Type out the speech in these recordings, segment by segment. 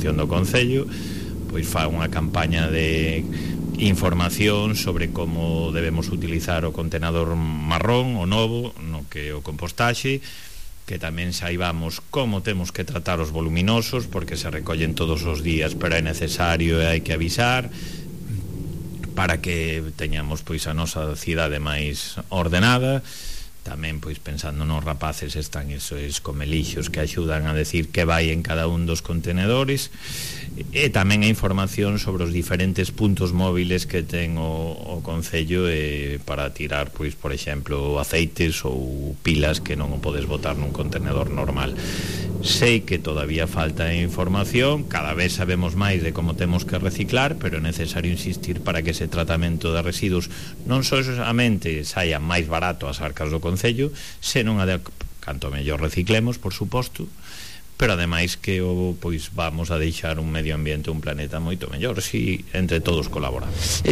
promoción do Concello pois fa unha campaña de información sobre como debemos utilizar o contenedor marrón, o novo, no que o compostaxe, que tamén saibamos como temos que tratar os voluminosos, porque se recollen todos os días, pero é necesario e hai que avisar para que teñamos pois a nosa cidade máis ordenada. Tamén pois pensando nos rapaces están esos comelixos que axudan a decir que vai en cada un dos contenedores, e tamén a información sobre os diferentes puntos móviles que ten o Concello para tirar pois por exemplo aceites ou pilas que non o podes botar nun contenedor normal. Sei que todavía falta información, cada vez sabemos máis de como temos que reciclar, pero é necesario insistir para que ese tratamento de residuos non somente saia máis barato ás arcas do Concello, senón canto mellor reciclemos, por suposto, pero ademais que pois vamos a deixar un medio ambiente, un planeta moito mellor si entre todos colaboramos.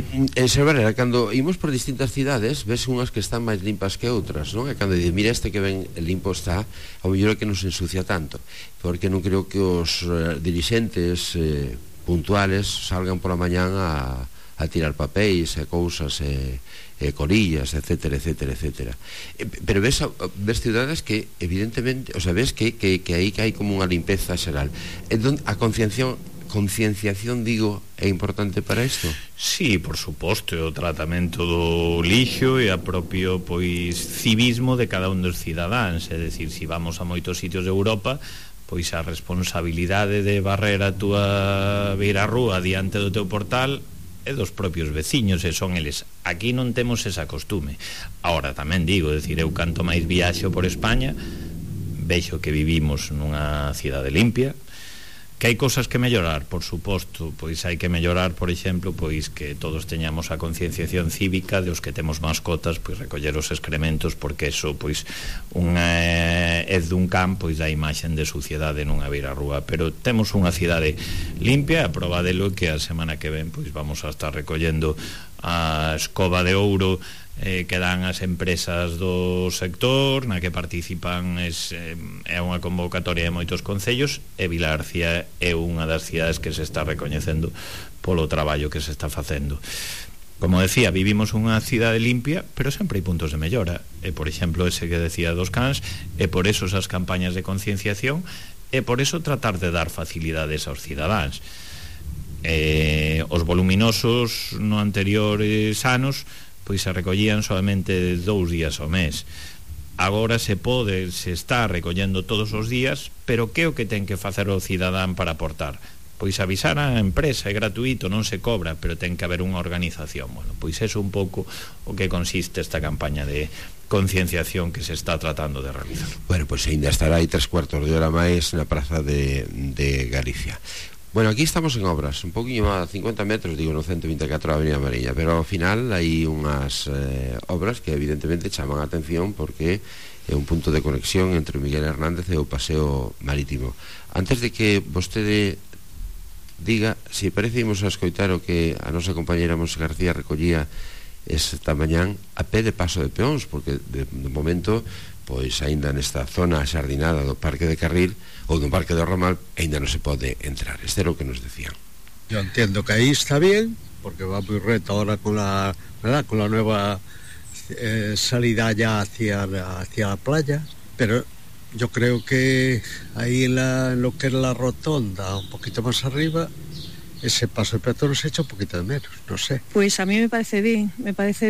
Silvera, cando imos por distintas cidades ves unhas que están máis limpas que outras, non? E cando dices, mira este que ben limpo está, ao mellor é que non se ensucia tanto, porque non creo que os dirixentes puntuales salgan pola mañán a tirar papéis e cousas colillas, etcétera, etcétera, etcétera. Pero ves cidades que evidentemente, o sea, ves que aí hai como unha limpeza xeral. Entón, a concienciación, digo, é importante para isto? Sí, por suposto, o tratamento do lixo e a propio pois civismo de cada un dos cidadáns, é dicir, se vamos a moitos sitios de Europa, pois a responsabilidade de barrer a túa beirarrúa diante do teu portal é dos propios veciños, e son eles. Aquí non temos esa costume. Ahora tamén digo, decir, eu canto máis viaxo por España, vexo que vivimos nunha cidade limpia, que hai cousas que mellorar, por suposto, pois hai que mellorar, por exemplo, pois que todos teñamos a concienciación cívica de os que temos mascotas, pois recoller os excrementos, porque eso, pois, é dun can, pois dá imaxen de suciedade nunha beirarrúa, pero temos unha cidade limpia, a prova delo que a semana que ven, pois vamos a estar recollendo a escoba de ouro que dan as empresas do sector, na que participan é unha convocatoria de moitos concellos, e Vilarcía é unha das cidades que se está recoñecendo polo traballo que se está facendo. Como decía, vivimos unha cidade limpia, pero sempre hai puntos de mellora, e por exemplo ese que decía dos cans, e por eso esas campañas de concienciación, e por eso tratar de dar facilidades aos cidadáns. Os voluminosos no anteriores anos pois se recollían solamente 2 días ao mes. Agora se está recollendo todos os días, pero que é o que ten que facer o cidadán para aportar? Pois avisar á empresa, é gratuito, non se cobra, pero ten que haber unha organización. Bueno, pois é un pouco o que consiste esta campaña de concienciación que se está tratando de realizar. Bueno, pois ainda estará aí 3/4 de hora máis na praza de Galicia. Bueno, aquí estamos en obras, un poquinho a 50 metros, digo, no 124 da Avenida Mariña, pero ao final hai unhas obras que evidentemente chaman a atención porque é un punto de conexión entre o Miguel Hernández e o Paseo Marítimo. Antes de que vostede diga, se parece, imos a escoitar o que a nosa compañera Monse García recollía esta mañán a pé de paso de peóns, porque de momento pois aínda nesta zona xardinada do Parque de Carril ou do Parque do Ramal aínda non se pode entrar. Este era o que nos decían. Yo entiendo que ahí está bien, porque va muy reto ahora con la, ¿verdad?, con la nueva salida ya hacia la playa, pero yo creo que ahí en lo que es la rotonda, un poquito más arriba, ese paso de peatones se echa un poquito de menos, no sé. Pues a mí me parece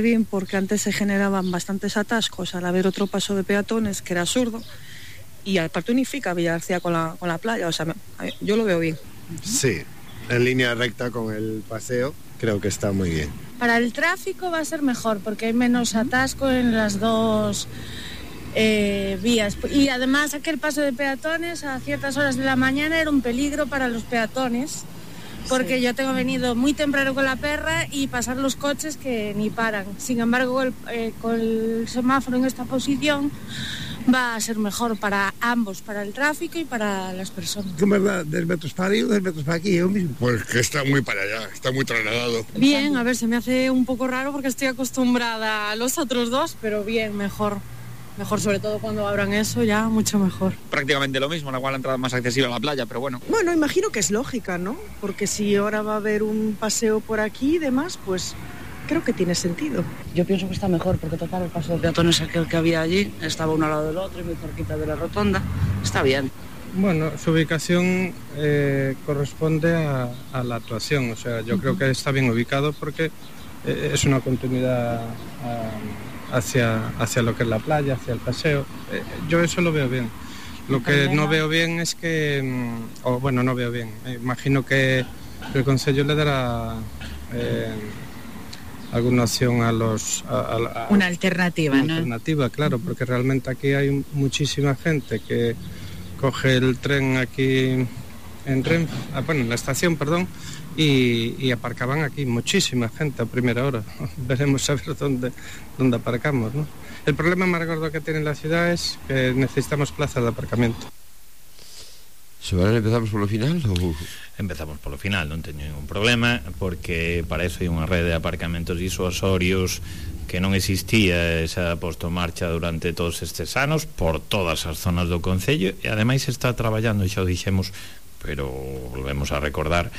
bien porque antes se generaban bastantes atascos al haber otro paso de peatones que era absurdo, y aparte unifica Villagarcía con la playa, o sea, yo lo veo bien. Sí, en línea recta con el paseo creo que está muy bien. Para el tráfico va a ser mejor porque hay menos atasco en las dos vías, y además aquel paso de peatones a ciertas horas de la mañana era un peligro para los peatones, porque sí, yo tengo venido muy temprano con la perra y pasar los coches que ni paran. Sin embargo, con el semáforo en esta posición va a ser mejor para ambos, para el tráfico y para las personas. ¿Cómo es 10 metros para arriba, 10 metros para aquí, yo mismo? Pues que está muy para allá, está muy trasladado. Bien, a ver, se me hace un poco raro porque estoy acostumbrada a los otros dos, pero bien, mejor. Mejor, sobre todo cuando abran eso, ya mucho mejor. Prácticamente lo mismo, la entrada más accesible a la playa, pero bueno. Bueno, imagino que es lógica, ¿no? Porque si ahora va a haber un paseo por aquí y demás, pues creo que tiene sentido. Yo pienso que está mejor, porque total el paso de peatones aquel que había allí estaba uno al lado del otro y muy cerquita de la rotonda. Está bien. Bueno, su ubicación corresponde a la actuación, o sea, yo creo que está bien ubicado porque es una continuidad hacia lo que es la playa, hacia el paseo. Yo eso lo veo bien. Lo que no veo bien es que, no veo bien. Imagino que el Concello le dará alguna opción a los... una alternativa, ¿no? Una alternativa, claro, porque realmente aquí hay muchísima gente que coge el tren aquí en la estación, y aparcaban aquí muchísima gente a primera hora. Veremos a ver dónde aparcamos, ¿no? El problema más gordo que tiene la ciudad es que necesitamos plazas de aparcamiento. Empezamos polo final ou... Empezamos polo final, non teño ningún problema, porque para eso hai unha rede de aparcamentos disuasorios que non existía, e xa posto en marcha durante todos estes anos por todas as zonas do Concello, e ademais está traballando, xa o dixemos, pero volvemos a recordar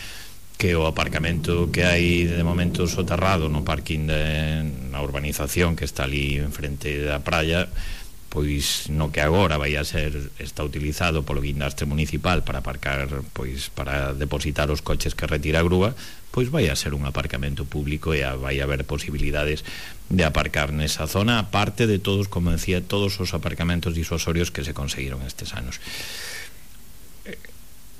que o aparcamento que hai de momento soterrado no parking na urbanización que está ali enfrente da praia, pois no que agora está utilizado polo guindastre municipal para aparcar, pois para depositar os coches que retira a grúa, pois vai a ser un aparcamento público e vai haber posibilidades de aparcar nesa zona, aparte de todos, como decía, todos os aparcamentos disuasorios que se conseguiron estes anos.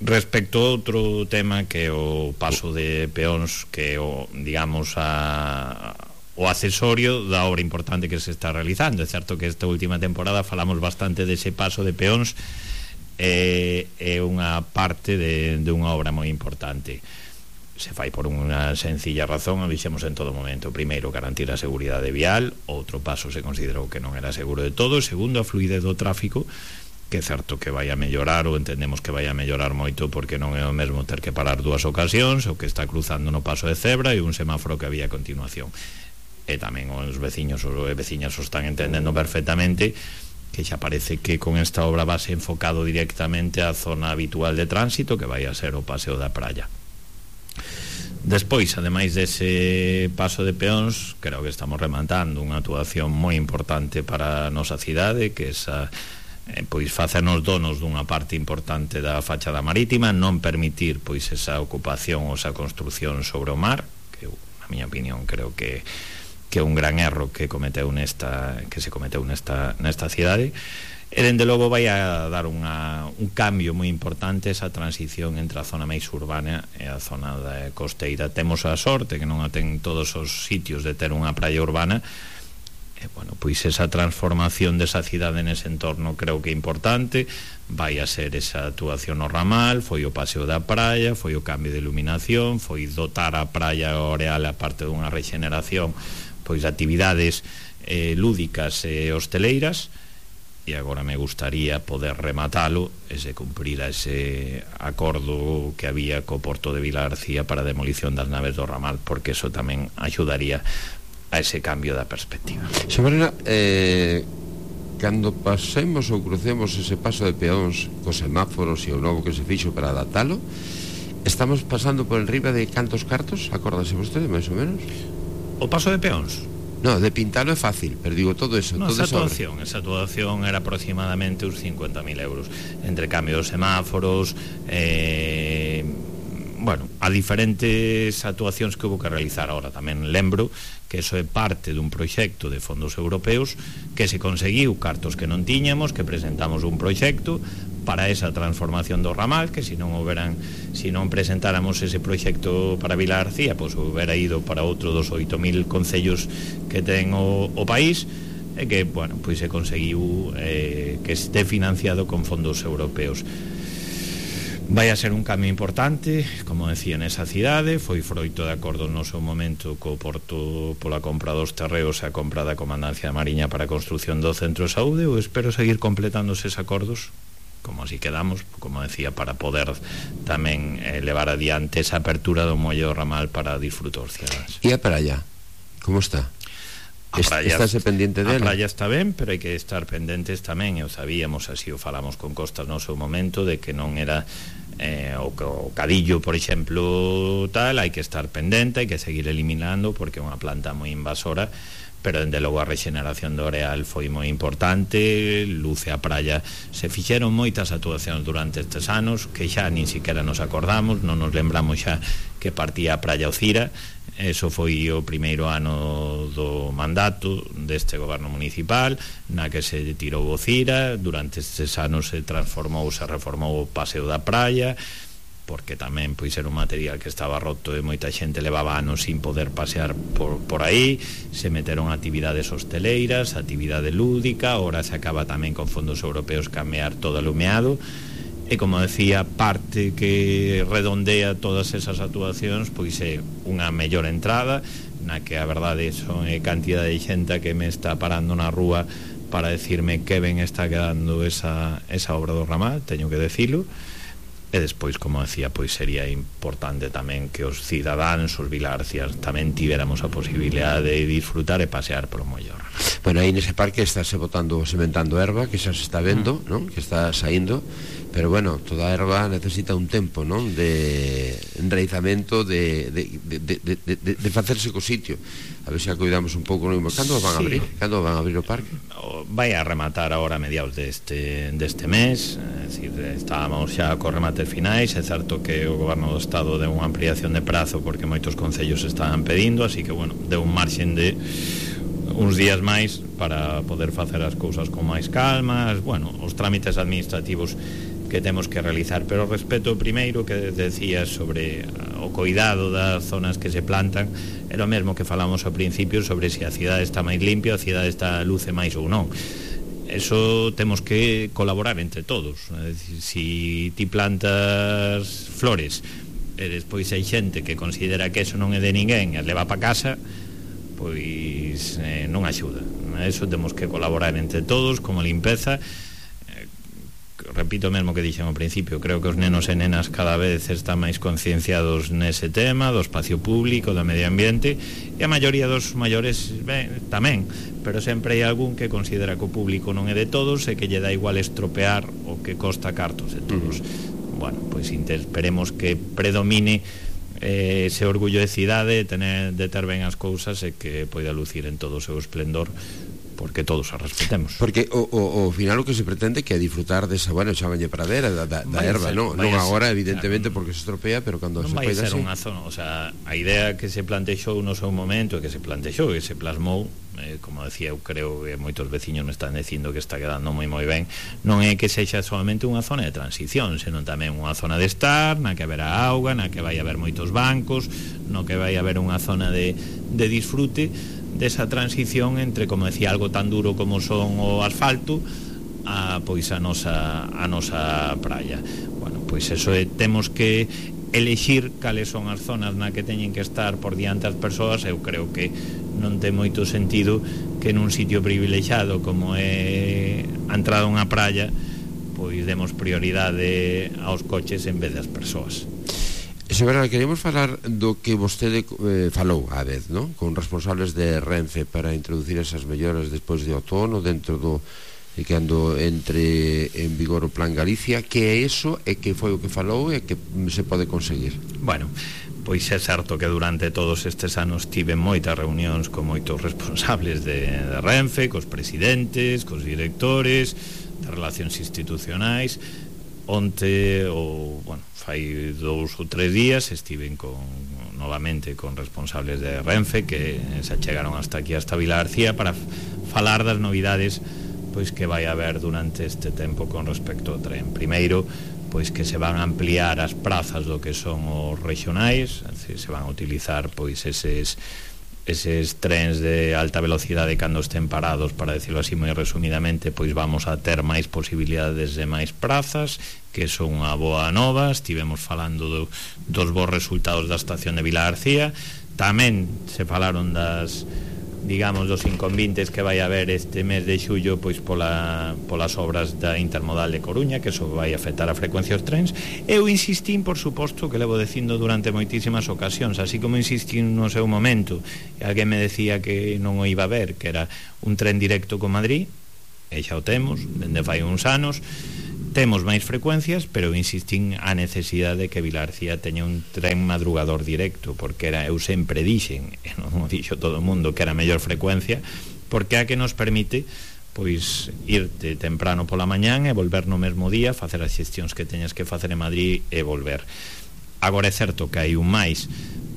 Respecto a outro tema que é o paso de peóns, que o, digamos, o accesorio da obra importante que se está realizando. É certo que esta última temporada falamos bastante dese paso de peóns, é unha parte de unha obra moi importante. Se fai por unha sencilla razón, o dixemos en todo momento. Primeiro, garantir a seguridade vial. Outro paso se considerou que non era seguro de todo. Segundo, a fluidez do tráfico, que é certo que vai a mellorar, ou entendemos que vai a mellorar moito, porque non é o mesmo ter que parar dúas ocasións, o que está cruzando no paso de cebra e un semáforo que había a continuación. E tamén os veciños e veciñas o están entendendo perfectamente, que xa parece que con esta obra base enfocado directamente á zona habitual de tránsito, que vai a ser o paseo da praia. Despois, ademais dese paso de peóns, creo que estamos rematando unha actuación moi importante para a nosa cidade, que esa pois facernos donos dunha parte importante da fachada marítima, non permitir pois esa ocupación ou esa construción sobre o mar, que na miña opinión creo que é un gran erro que se cometeu nesta cidade, e dende logo vai a dar un cambio moi importante esa transición entre a zona máis urbana e a zona costeira. Temos a sorte que non a ten todos os sitios de ter unha praia urbana, e, bueno, pois esa transformación desa cidade nese entorno creo que é importante. Vai a ser esa actuación no ramal, foi o paseo da praia, foi o cambio de iluminación, foi dotar a praia Oreal, a parte dunha regeneración, pois de actividades lúdicas e hosteleiras, e agora me gustaría poder rematalo e se cumprira ese acordo que había co Porto de Vilagarcía para a demolición das naves do ramal, porque eso tamén axudaría a ese cambio da perspectiva. Xamarena, cando pasemos ou crucemos ese paso de peóns cos semáforos e o novo que se fixo para adaptalo, estamos pasando por enriba de cantos cartos? Acórdase vostede, máis ou menos? O paso de peóns? No, de pintalo é fácil, pero digo todo eso. No, esa actuación era aproximadamente uns 50.000 euros, entre cambio dos semáforos, a diferentes actuacións que houve que realizar. Ahora tamén lembro que eso é parte dun proxecto de fondos europeos que se conseguiu cartos que non tiñamos, que presentamos un proxecto para esa transformación do ramal, que se non presentáramos ese proxecto para Vilagarcía, pois houbera ido para outro dos 8.000 concellos que ten o país, e que, pois se conseguiu que este financiado con fondos europeos. Vai a ser un cambio importante, como decía, nesa cidade. Foi froito de acordo no seu momento co Porto pola compra dos terreos e a compra da Comandancia da Mariña para a construción do centro de saúde. Eu espero seguir completando eses acordos, como así quedamos, como decía, para poder tamén levar adiante esa apertura do muelle do ramal para disfrutar os ciudadanos. E a praia, como está? Estáse pendiente dela? A praia está ben, pero hai que estar pendentes tamén, e o sabíamos, así o falamos con Costas no seu momento, de que non era o Cadillo, por exemplo, tal, hai que estar pendente, hai que seguir eliminando, porque é unha planta moi invasora, pero dende logo a rexeneración do areal foi moi importante. Luce a praia, se fixeron moitas actuacións durante estes anos que xa nin siquiera nos acordamos, non nos lembramos xa que partía a praia Ocira. Eso foi o primeiro ano do mandato deste goberno municipal, na que se tirou o Cira. Durante estes anos se reformou o paseo da praia, porque tamén pois era un material que estaba roto e moita xente levaba anos sin poder pasear por aí. Se meteron actividades hosteleiras, actividade lúdica, ahora se acaba tamén con fondos europeos cambiar todo o lumeado. E como decía, parte que redondea todas esas actuacións pois é unha mellor entrada, na que a verdade son cantidad de xente que me está parando na rúa para decirme que ben está quedando esa obra do ramal, teño que decilo. E despois, como decía, pois sería importante tamén que os cidadáns, os vilarcias, tamén tivéramos a posibilidade de disfrutar e pasear por o mellor. Bueno, aí nese parque estáse sementando erva, que xa se está vendo, non? Que está saindo, pero bueno, toda a erva necesita un tempo, non? De enraizamento, de facerse co sitio. A ver se a cuidamos un pouco. Cando van a abrir? Cando van a abrir o parque? Vai a rematar agora a mediados deste mes, é dicir, estábamos xa co remates finais. É certo que o goberno do Estado deu unha ampliación de prazo porque moitos concellos estaban pedindo, así que, bueno, deu un marxen de uns días máis para poder facer as cousas con máis calma, bueno, os trámites administrativos que temos que realizar. Pero respeto primeiro que decías sobre o cuidado das zonas que se plantan, era o mesmo que falamos ao principio sobre se a cidade está máis limpia, a cidade está luce máis ou non. Eso temos que colaborar entre todos. É dicir, si ti plantas flores e despois hai xente que considera que eso non é de ninguén e leva pa casa, pois non axuda. Eso temos que colaborar entre todos, como limpeza. Repito o mesmo que dixen ao principio, creo que os nenos e nenas cada vez están máis concienciados nese tema do espacio público, do medio ambiente, e a maioría dos maiores tamén, pero sempre hai algún que considera que o público non é de todos e que lle dá igual estropear o que costa cartos de todos. Bueno, pois esperemos que predomine ese orgullo de cidade, de ter ben as cousas e que poida lucir en todo o seu esplendor, porque todos a respetemos. Porque o final o que se pretende que é disfrutar desa, bueno, chamalle pradera da erva, non agora evidentemente porque se estropea, pero cando se vai poida ser unha zona, o sea, a idea que se plantexou no seu momento e que se plantexou e se plasmou, como decía, eu creo que moitos veciños me están dicindo que está quedando moi ben, non é que sexa solamente unha zona de transición, senón tamén unha zona de estar, na que haberá auga, na que vai haber moitos bancos, no que vai haber unha zona de disfrute desa transición entre, como decía, algo tan duro como son o asfalto a pois a nosa praia. Bueno, pois eso temos que elexir cales son as zonas na que teñen que estar por diante as persoas. Eu creo que non ten moito sentido que nun sitio privilexiado como é a entrada a unha praia pois demos prioridade aos coches en vez das persoas. Señora, queríamos falar do que vostede falou a vez, non? Con responsables de Renfe para introducir esas melloras despois de outono dentro do cando entre en vigor o Plan Galicia. Que é iso e que foi o que falou e que se pode conseguir? Bueno, pois é certo que durante todos estes anos tive moitas reunións con moitos responsables de Renfe, cos presidentes, cos directores de relacións institucionais. Onte, fai 2 ou 3 días estiven novamente con responsables de Renfe que se achegaron hasta aquí, hasta Vila García, para falar das novidades pois que vai haber durante este tempo con respecto ao tren. Primeiro, pois que se van a ampliar as prazas do que son os regionais, se van a utilizar pois eses trens de alta velocidade cando estén parados, para decirlo así moi resumidamente, pois vamos a ter máis posibilidades de máis prazas, que son unha boa nova. Estivemos falando dos bons resultados da estación de Vila García. Tamén se falaron das digamos, dos inconvenientes que vai haber este mes de xullo pois polas obras da Intermodal de Coruña, que eso vai afectar a frecuencia dos trens. Eu insistín, por suposto, que levo dicindo durante moitísimas ocasións, así como insistín no seu momento, e alguén me decía que non o iba a ver, que era un tren directo con Madrid, e xa o temos, dende fai uns anos. Temos máis frecuencias, pero insistín a necesidade de que Vilarcía teña un tren madrugador directo, porque eu sempre dixen, e non o dixo todo o mundo, que era a mellor frecuencia, porque é a que nos permite pois irte temprano pola mañán e volver no mesmo día, facer as xestións que teñas que facer en Madrid e volver. Agora é certo que hai un máis,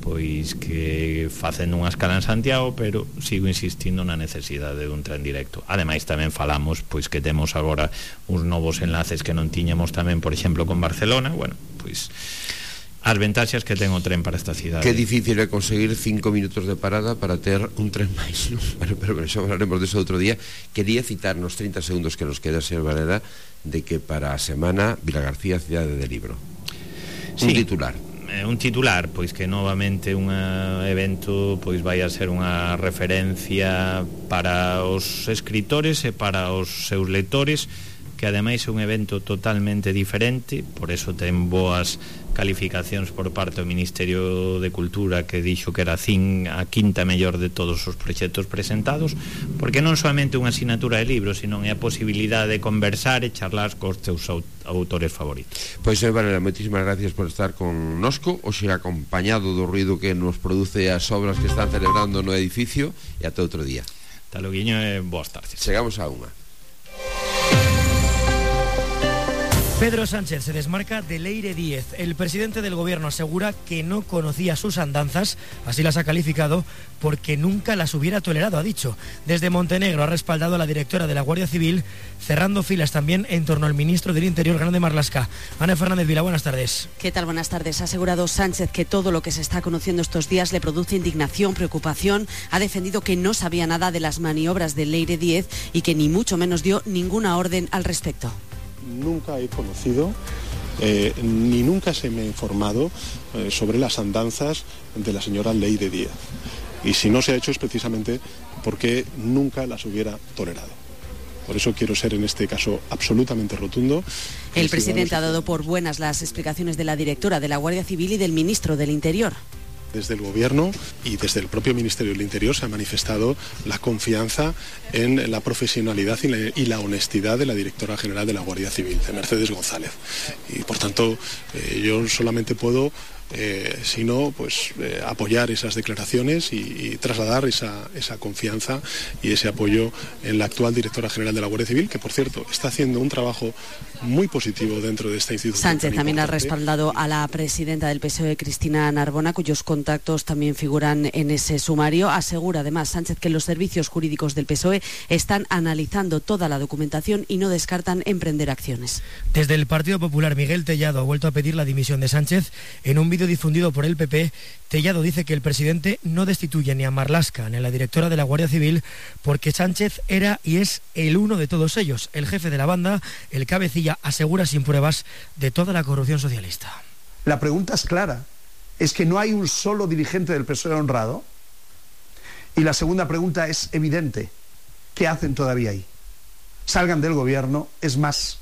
pois que facendo unha escala en Santiago, pero sigo insistindo na necesidade dun tren directo. Ademais tamén falamos pois que temos agora uns novos enlaces que non tiñamos tamén, por exemplo, con Barcelona. Bueno, pois as ventaxas que ten o tren para esta cidade. Que difícil é conseguir 5 minutos de parada para ter un tren máis, ¿no? Pero xa hablaremos de eso outro día. Quería citar nos 30 segundos que nos queda, señor Varela, de que para a semana Vilagarcía, cidade de libro. Un titular, pois que novamente un evento pois vai a ser unha referencia para os escritores e para os seus lectores, que ademais é un evento totalmente diferente, por eso ten boas calificacións por parte do Ministerio de Cultura, que dixo que era a quinta mellor de todos os proxectos presentados, porque non soamente unha asignatura de libros, sino é a posibilidade de conversar e charlar cos teus autores favoritos. Pois, Varela, moitísimas gracias por estar con nosco, hoxe acompañado do ruido que nos produce as obras que están celebrando no edificio, e ata outro día. Ata logo, e boas tardes. Chegamos a unha. Pedro Sánchez se desmarca de Leire Díez. El presidente del gobierno asegura que no conocía sus andanzas, así las ha calificado, porque nunca las hubiera tolerado, ha dicho. Desde Montenegro ha respaldado a la directora de la Guardia Civil, cerrando filas también en torno al ministro del Interior, Grande Marlaska. Ana Fernández Vila, buenas tardes. ¿Qué tal? Buenas tardes. Ha asegurado Sánchez que todo lo que se está conociendo estos días le produce indignación, preocupación. Ha defendido que no sabía nada de las maniobras de Leire Díez y que ni mucho menos dio ninguna orden al respecto. Nunca he conocido ni nunca se me ha informado sobre las andanzas de la señora Leire Díez. Y si no se ha hecho es precisamente porque nunca las hubiera tolerado. Por eso quiero ser en este caso absolutamente rotundo. El presidente ha dado por buenas las explicaciones de la directora de la Guardia Civil y del ministro del Interior. Desde el Gobierno y desde el propio Ministerio del Interior se ha manifestado la confianza en la profesionalidad y la honestidad de la directora general de la Guardia Civil, de Mercedes González. Y por tanto, yo solamente puedo sino pues apoyar esas declaraciones y trasladar esa confianza y ese apoyo en la actual directora general de la Guardia Civil, que por cierto está haciendo un trabajo muy positivo dentro de esta institución. Sánchez también ha respaldado a la presidenta del PSOE, Cristina Narbona, cuyos contactos también figuran en ese sumario. Asegura además Sánchez que los servicios jurídicos del PSOE están analizando toda la documentación y no descartan emprender acciones. Desde el Partido Popular, Miguel Tellado ha vuelto a pedir la dimisión de Sánchez. En un vídeo difundido por el PP, Tellado dice que el presidente no destituye ni a Marlaska ni a la directora de la Guardia Civil porque Sánchez era y es el uno de todos ellos, el jefe de la banda, el cabecilla, asegura sin pruebas de toda la corrupción socialista. La pregunta es clara, es que no hay un solo dirigente del PSOE honrado, y la segunda pregunta es evidente, ¿qué hacen todavía ahí? Salgan del gobierno, es más,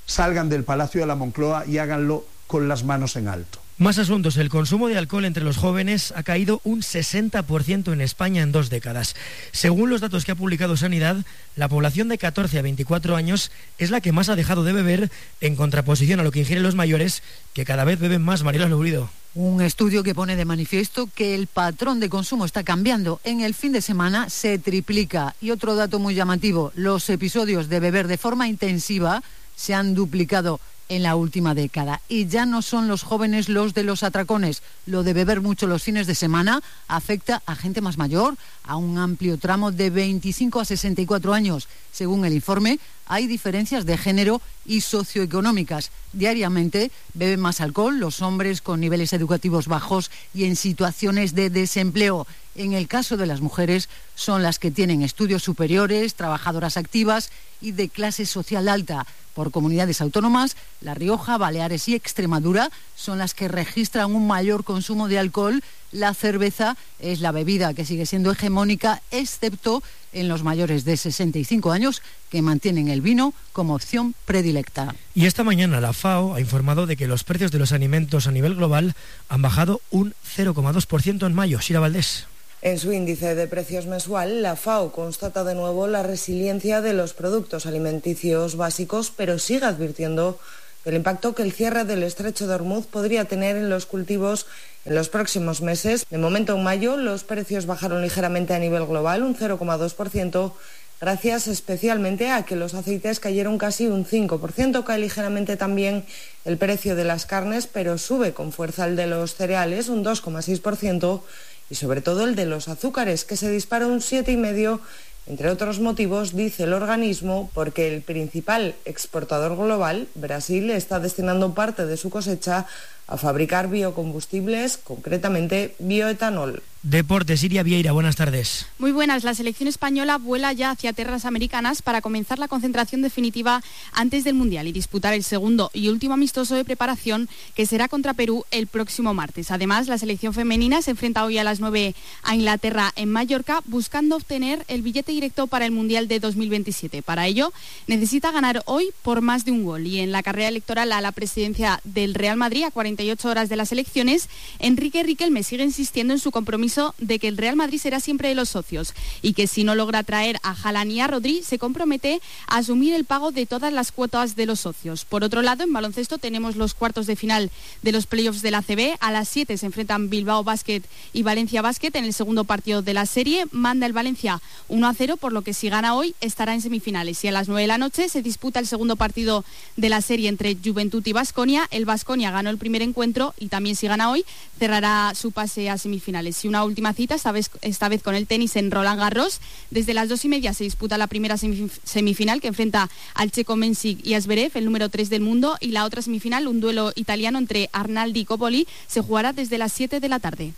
salgan del Palacio de la Moncloa y háganlo con las manos en alto. Más asuntos. El consumo de alcohol entre los jóvenes ha caído un 60% en España en 2 décadas. Según los datos que ha publicado Sanidad, la población de 14 a 24 años es la que más ha dejado de beber, en contraposición a lo que ingieren los mayores, que cada vez beben más. Mariela Lourido. Un estudio que pone de manifiesto que el patrón de consumo está cambiando. En el fin de semana se triplica. Y otro dato muy llamativo, los episodios de beber de forma intensiva se han duplicado en la última década. Y ya no son los jóvenes los de los atracones. Lo de beber mucho los fines de semana afecta a gente más mayor, a un amplio tramo de 25 a 64 años. Según el informe, hay diferencias de género y socioeconómicas. Diariamente beben más alcohol los hombres con niveles educativos bajos y en situaciones de desempleo. En el caso de las mujeres, son las que tienen estudios superiores, trabajadoras activas y de clase social alta. Por comunidades autónomas, La Rioja, Baleares y Extremadura son las que registran un mayor consumo de alcohol La cerveza es la bebida que sigue siendo hegemónica, excepto en los mayores de 65 años, que mantienen el vino como opción predilecta. Y esta mañana la FAO ha informado de que los precios de los alimentos a nivel global han bajado un 0,2% en mayo. Sira Valdés. En su índice de precios mensual, la FAO constata de nuevo la resiliencia de los productos alimenticios básicos, pero sigue advirtiendo del impacto que el cierre del estrecho de Hormuz podría tener en los cultivos en los próximos meses. De momento, en mayo, los precios bajaron ligeramente a nivel global, un 0,2%, gracias especialmente a que los aceites cayeron casi un 5%. Cae ligeramente también el precio de las carnes, pero sube con fuerza el de los cereales, un 2,6%, y sobre todo el de los azúcares, que se dispara un 7,5%, entre otros motivos, dice el organismo, porque el principal exportador global, Brasil, está destinando parte de su cosecha a fabricar biocombustibles, concretamente bioetanol. Deportes, Iria Vieira, buenas tardes. Muy buenas. La selección española vuela ya hacia tierras americanas para comenzar la concentración definitiva antes del Mundial y disputar el segundo y último amistoso de preparación, que será contra Perú el próximo martes. Además, la selección femenina se enfrenta hoy a las 9 a Inglaterra en Mallorca, buscando obtener el billete directo para el Mundial de 2027. Para ello, necesita ganar hoy por más de un gol. Y en la carrera electoral a la presidencia del Real Madrid, a 48 horas de las elecciones, Enrique Riquelme sigue insistiendo en su compromiso de que el Real Madrid será siempre de los socios y que si no logra traer a Haaland y a Rodri, se compromete a asumir el pago de todas las cuotas de los socios. Por otro lado, en baloncesto tenemos los cuartos de final de los playoffs de la ACB. A las 7 se enfrentan Bilbao Basket y Valencia Basket en el segundo partido de la serie. Manda el Valencia 1-0, por lo que si gana hoy estará en semifinales. Y a las 9 de la noche se disputa el segundo partido de la serie entre Juventud y Baskonia. El Baskonia ganó el primer encuentro y también si gana hoy cerrará su pase a semifinales. Y una última cita, esta vez con el tenis en Roland Garros. Desde las 2:30 se disputa la primera semifinal, que enfrenta al checo Mensik y a Zverev, el número 3 del mundo, y la otra semifinal, un duelo italiano entre Arnaldi y Coppoli, se jugará desde las 7 de la tarde.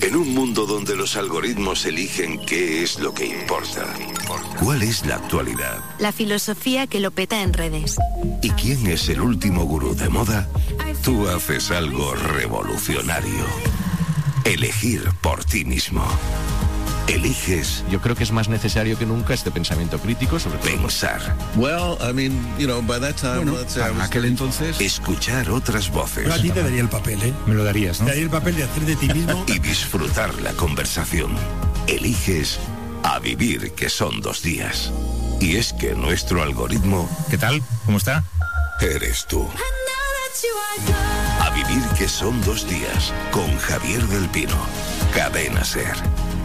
En un mundo donde los algoritmos eligen qué es lo que importa, ¿cuál es la actualidad? La filosofía que lo peta en redes. ¿Y quién es el último gurú de moda? Tú haces algo revolucionario. Elegir por ti mismo. Eliges. Yo creo que es más necesario que nunca este pensamiento crítico sobre pensar. Bueno, para aquel entonces, escuchar otras voces. Yo a ti te daría el papel, ¿eh? Me lo darías, ¿no? Te daría el papel de hacer de ti mismo. Y disfrutar la conversación. Eliges a vivir, que son 2 días. Y es que nuestro algoritmo... ¿Qué tal? ¿Cómo está? Eres tú. A vivir, que son 2 días, con Javier del Pino. Cadena SER.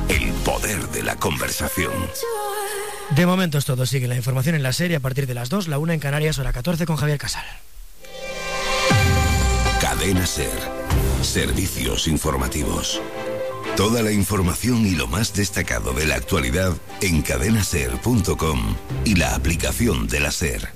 El poder de la conversación. De momento es todo. Sigue la información en la serie a partir de las 2, la 1 en Canarias, hora 14 con Javier Casal. Cadena SER. Servicios informativos. Toda la información y lo más destacado de la actualidad en cadenaser.com y la aplicación de la SER.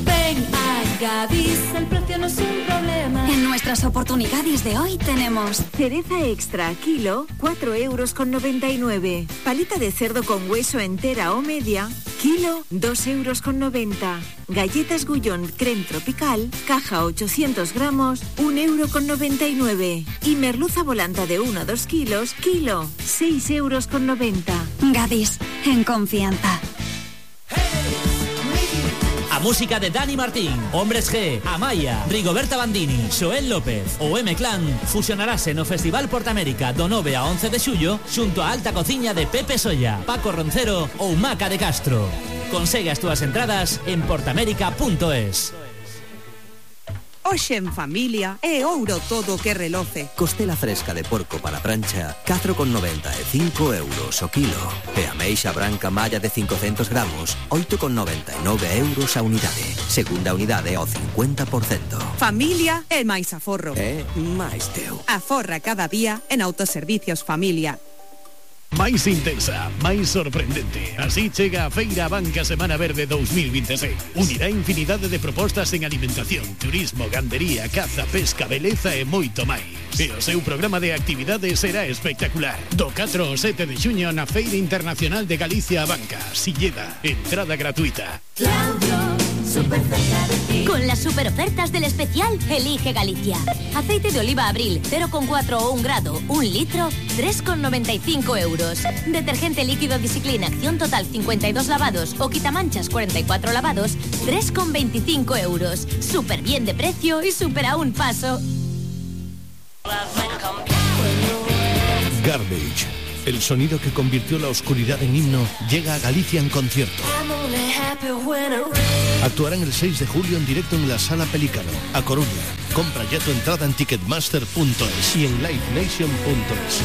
Ven a Gadis, el precio no es un problema. En nuestras oportunidades de hoy tenemos cereza extra, kilo, 4,99 €. Paleta de cerdo con hueso entera o media, kilo, 2,90 €. Galletas Gullón creme tropical, caja 800 gramos, 1,99 €. Y merluza volanta de 1 a 2 kilos, kilo, 6,90 €. Gadis, en confianza. A música de Dani Martín, Hombres G, Amaya, Rigoberta Bandini, Xoel López ou M-Clan fusionarase no Festival Portamérica do 9 a 11 de xullo xunto a alta cociña de Pepe Solla, Paco Roncero ou Maca de Castro. Consegue as túas entradas en portamérica.es. Hoxe en familia é ouro todo que reloce. Costela fresca de porco para prancha, 4,95 € o kilo. E ameixa branca malla de 500 gramos, 8,99 € a unidade. Segunda unidade ao 50%. Familia é máis aforro. É máis teu. Aforra cada día en Autoservicios Familia. Máis intensa, máis sorprendente. Así chega a Feira Banca Semana Verde 2026. Unirá infinidade de propostas en alimentación, turismo, gandería, caza, pesca, beleza e moito máis. E o seu programa de actividades será espectacular. Do 4 ao 7 de xuño na Feira Internacional de Galicia a Banca, Silleda, entrada gratuita. Claudio súper cerca de ti. Con las super ofertas del especial, elige Galicia. Aceite de oliva Abril, 0,4 o 1 grado, 1 litro, 3,95 euros. Detergente líquido Discipline, acción total 52 lavados o quitamanchas 44 lavados, 3,25 euros. Súper bien de precio y súper a un paso. Garbage, el sonido que convirtió la oscuridad en himno, llega a Galicia en concierto. Actuarán el 6 de julio en directo en la Sala Pelícano, a Coruña. Compra ya tu entrada en ticketmaster.es y en livenation.es.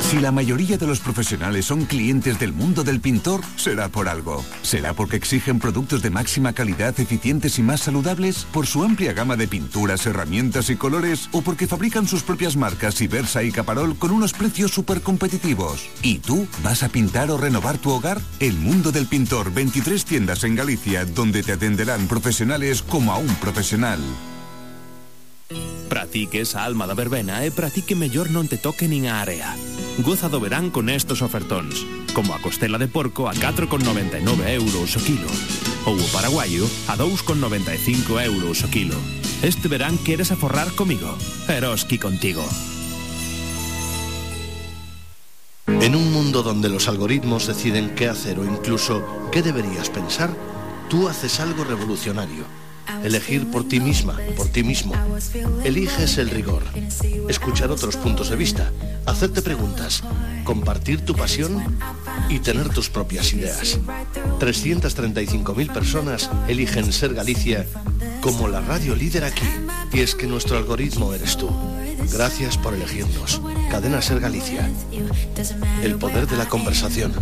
Si la mayoría de los profesionales son clientes del mundo del pintor, será por algo. ¿Será porque exigen productos de máxima calidad, eficientes y más saludables? ¿Por su amplia gama de pinturas, herramientas y colores? ¿O porque fabrican sus propias marcas Ibersa y Caparol con unos precios súper competitivos? ¿Y tú vas a pintar o renovar tu hogar? El mundo del pintor, 23 tiendas en Galicia, donde te atenderán profesionales como a un profesional. Pratique esa alma da verbena e pratique mellor non te toque nin a área. Goza do verán con estos ofertóns, como a costela de porco a 4,99 euros o kilo, ou o paraguayo a 2,95 euros o kilo. Este verán queres aforrar comigo, Eroski contigo. En un mundo donde los algoritmos deciden qué hacer o incluso qué deberías pensar, tú haces algo revolucionario. Elegir por ti misma, por ti mismo. Eliges el rigor, escuchar otros puntos de vista, hacerte preguntas, compartir tu pasión y tener tus propias ideas. 335.000 personas eligen Ser Galicia como la radio líder aquí. Y es que nuestro algoritmo eres tú. Gracias por elegirnos. Cadena Ser Galicia. El poder de la conversación.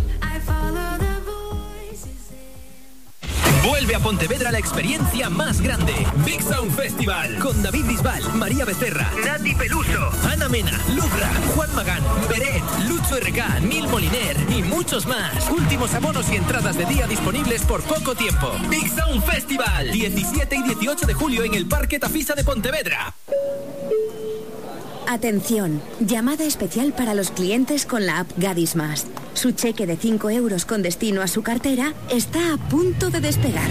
Vuelve a Pontevedra la experiencia más grande. Big Sound Festival. Con David Bisbal, María Becerra, Nati Peluso, Ana Mena, Lubra, Juan Magán, Beret, Lucho RK, Nil Moliner y muchos más. Últimos abonos y entradas de día disponibles por poco tiempo. Big Sound Festival. 17 y 18 de julio en el Parque Tafisa de Pontevedra. Atención, llamada especial para los clientes con la app Gadis Más. Su cheque de 5 euros con destino a su cartera está a punto de despegar.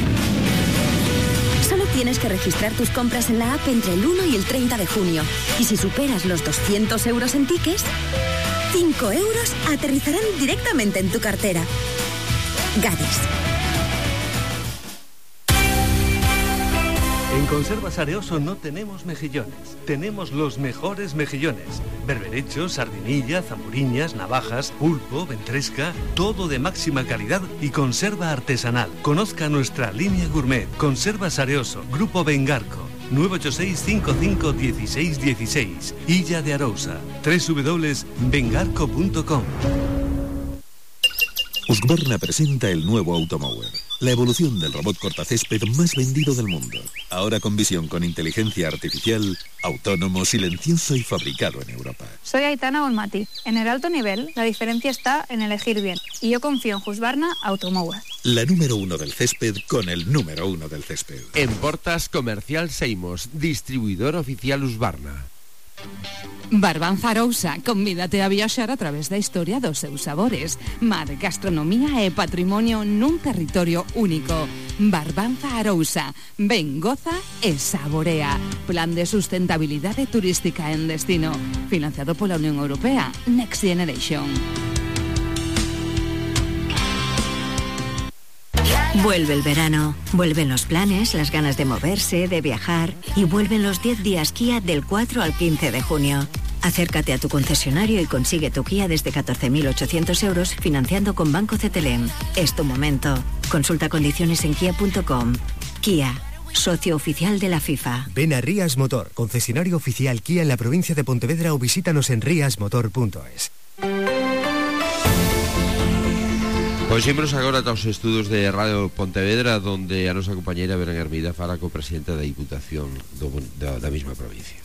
Solo tienes que registrar tus compras en la app entre el 1 y el 30 de junio. Y si superas los 200 euros en tickets, 5 euros aterrizarán directamente en tu cartera. Gadis. En Conservas Areoso no tenemos mejillones, tenemos los mejores mejillones. Berberechos, sardinilla, zamburiñas, navajas, pulpo, ventresca, todo de máxima calidad y conserva artesanal. Conozca nuestra línea gourmet. Conservas Areoso, Grupo Bengarco, 986-55-1616, Illa de Arousa, www.bengarco.com. Husqvarna presenta el nuevo Automower, la evolución del robot cortacésped más vendido del mundo. Ahora con visión con inteligencia artificial, autónomo, silencioso y fabricado en Europa. Soy Aitana Olmati. En el alto nivel, la diferencia está en elegir bien. Y yo confío en Husqvarna Automower. La número 1 del césped con el número 1 del césped. En Portas Comercial Seimos, distribuidor oficial Husqvarna. Barbanza Arousa, convídate a viaxar a través da historia dos seus sabores. Mar, gastronomía e patrimonio nun territorio único. Barbanza Arousa, ven, goza e saborea. Plan de sustentabilidade turística en destino. Financiado pola Unión Europea. Next Generation. Vuelve el verano, vuelven los planes, las ganas de moverse, de viajar y vuelven los 10 días Kia del 4 al 15 de junio. Acércate a tu concesionario y consigue tu Kia desde 14.800 euros financiando con Banco CTLM. Es tu momento. Consulta condiciones en kia.com. Kia, socio oficial de la FIFA. Ven a Rías Motor, concesionario oficial Kia en la provincia de Pontevedra o visítanos en riasmotor.es. Pois imos agora aos estudos de Radio Pontevedra, donde a nosa compañeira Belén Hermida fala co presidente da Diputación da mesma provincia.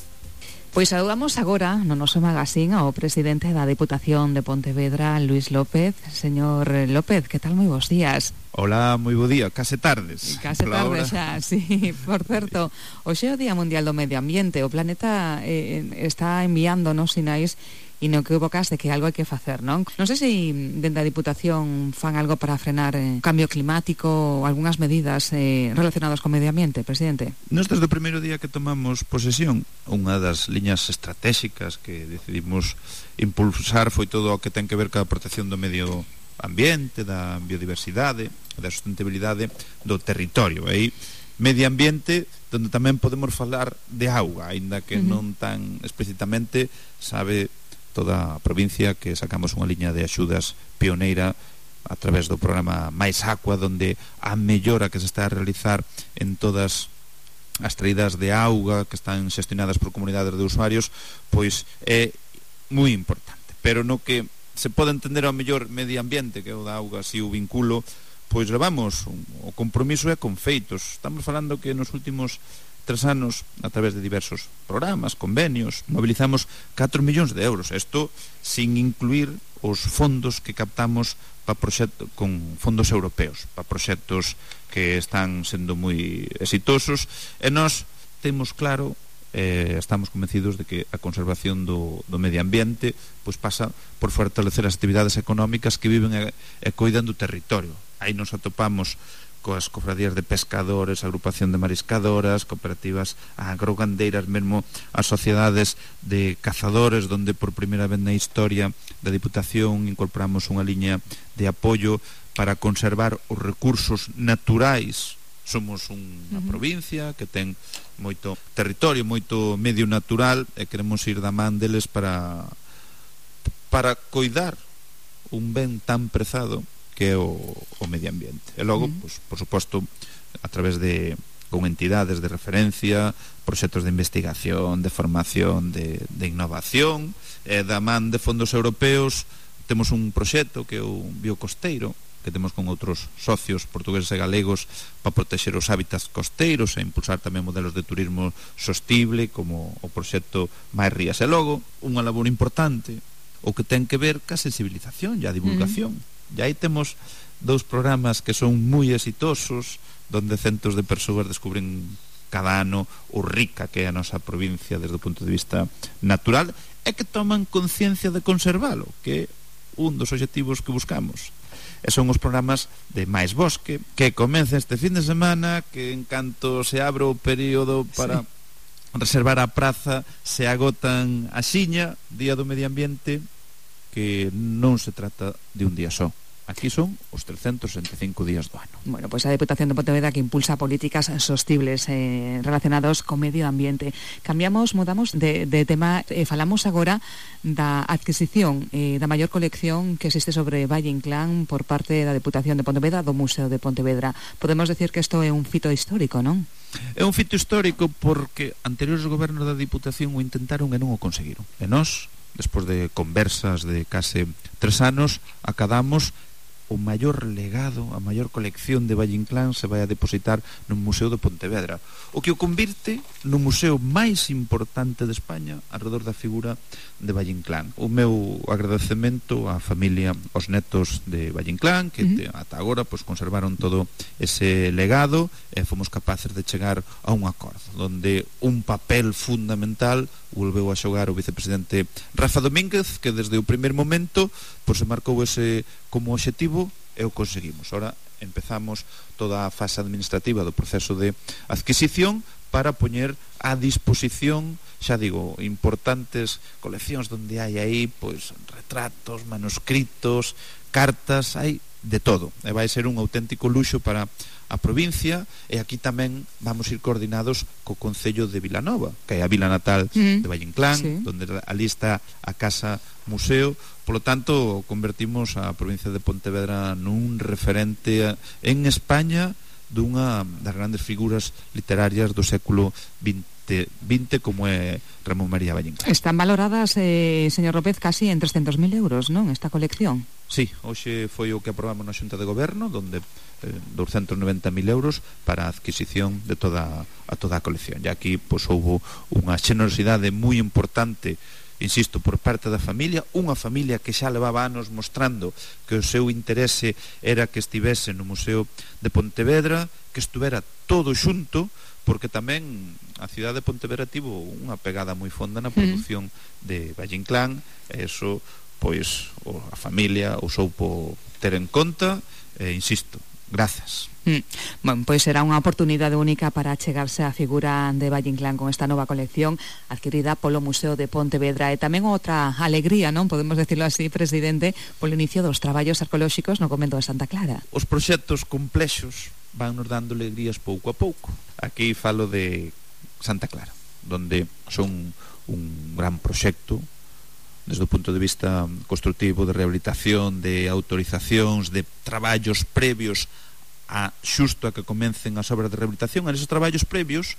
Pois saludamos agora no noso magazín ao presidente da Diputación de Pontevedra, Luís López. Señor López, que tal? Moi bons días. Hola, moi bo día, case tardes. Case tardes xa, sí. Por certo, hoxe é o Día Mundial do Medio Ambiente. O planeta está enviándonos sinais e no que evocas de que algo hai que facer, non? Non sei se dende a Diputación fan algo para frenar cambio climático ou algunhas medidas relacionadas con medio ambiente, presidente. Nós desde o primeiro día que tomamos posesión, unha das liñas estratégicas que decidimos impulsar foi todo o que ten que ver ca protección do medio ambiente, da biodiversidade, da sustentabilidade do territorio. Aí medio ambiente donde tamén podemos falar de auga, aínda que non tan explícitamente. Sabe toda a provincia que sacamos unha liña de axudas pioneira a través do programa Mais Aqua, donde a mellora que se está a realizar en todas as traídas de auga que están xestionadas por comunidades de usuarios, pois é moi importante. Pero no que se pode entender ao mellor medio ambiente, que é o da auga, si o vinculo, pois levamos o compromiso é con feitos. Estamos falando que nos últimos 3 anos, a través de diversos programas, convenios, mobilizamos 4 millóns de euros. Isto sin incluir os fondos que captamos para proxectos con fondos europeos, para proxectos que están sendo moi exitosos, e nós temos claro, estamos convencidos de que a conservación do medio ambiente pois pasa por fortalecer as actividades económicas que viven e coidan do territorio. Aí nos atopamos coas cofradías de pescadores, agrupación de mariscadoras, cooperativas agrogandeiras, mesmo as sociedades de cazadores, donde por primeira vez na historia da Diputación incorporamos unha liña de apoio para conservar os recursos naturais. Somos unha provincia que ten moito territorio, moito medio natural, e queremos ir da man deles para coidar un ben tan prezado que é o medio ambiente. E logo, pois, por suposto, a través de con entidades de referencia, proxectos de investigación, de formación, de innovación, e da man de fondos europeos temos un proxecto que é o Biocosteiro, que temos con outros socios portugueses e galegos para protexer os hábitats costeiros e impulsar tamén modelos de turismo sostible, como o proxecto Mais Rías. E logo, unha labor importante, o que ten que ver ca sensibilización e a divulgación. E aí temos 2 programas que son moi exitosos, donde centos de persoas descubren cada ano o rica que é a nosa provincia desde o punto de vista natural, e que toman conciencia de conservalo, que é un dos obxectivos que buscamos. E son os programas de Mais Bosque, que comeza este fin de semana, que en canto se abre o período para reservar a praza, se agotan a xiña, Día do Medio Ambiente, que non se trata de un día só. Aquí son os 365 días do ano. Bueno, pois a Deputación de Pontevedra que impulsa políticas sostibles relacionados co medio ambiente. Mudamos de tema, falamos agora da adquisición da maior colección que existe sobre Valle Inclán por parte da Deputación de Pontevedra, do Museo de Pontevedra. Podemos decir que isto é un fito histórico, non? É un fito histórico porque anteriores gobernos da Diputación o intentaron e non o conseguiron. E nós, despois de conversas de case 3 anos, acadamos o maior legado, a maior colección de Valle Inclán se vai a depositar no Museo de Pontevedra, o que o convirte no museo máis importante de España alrededor da figura de Valle Inclán. O meu agradecemento á familia, aos netos de Valle Inclán, que ata agora pois conservaron todo ese legado e fomos capaces de chegar a un acordo, donde un papel fundamental volveu a xogar o vicepresidente Rafa Domínguez, que desde o primeiro momento pois se marcou ese como obxectivo e o conseguimos. Ahora empezamos toda a fase administrativa do proceso de adquisición para poñer a disposición, xa digo, importantes coleccións donde hai aí pois retratos, manuscritos, cartas, hai de todo. E vai ser un auténtico luxo para a provincia, e aquí tamén vamos ir coordinados co Concello de Vilanova, que é a vila natal de Valle Inclán, donde ali está a Casa Museo. Por lo tanto, convertimos a provincia de Pontevedra nun referente en España dunha das grandes figuras literarias do século XX, como é Ramón María Valle Inclán. Están valoradas, señor López, casi en 300.000 euros, non, esta colección? Sí, hoxe foi o que aprobamos na Xunta de Goberno, donde 290.000 euros para a adquisición de toda a colección. E aquí pois houbo unha xenerosidade moi importante, insisto, por parte da familia, unha familia que xa levaba anos mostrando que o seu interese era que estivese no Museo de Pontevedra, que estuvera todo xunto, porque tamén a cidade de Pontevedra tivo unha pegada moi fonda na produción de Valle Inclán, e iso, pois, a familia o soupo ter en conta, e insisto, grazas. Bueno, pois será unha oportunidade única para achegarse á figura de Valle Inclán con esta nova colección adquirida polo Museo de Pontevedra, e tamén outra alegría, non podemos decirlo así, presidente, polo inicio dos traballos arqueolóxicos no convento de Santa Clara. Os proxectos complexos van nos dando alegrías pouco a pouco. Aquí falo de Santa Clara, donde son un gran proxecto desde o punto de vista constructivo, de rehabilitación, de autorizacións, de traballos previos a xusto a que comecen as obras de rehabilitación. En esos traballos previos,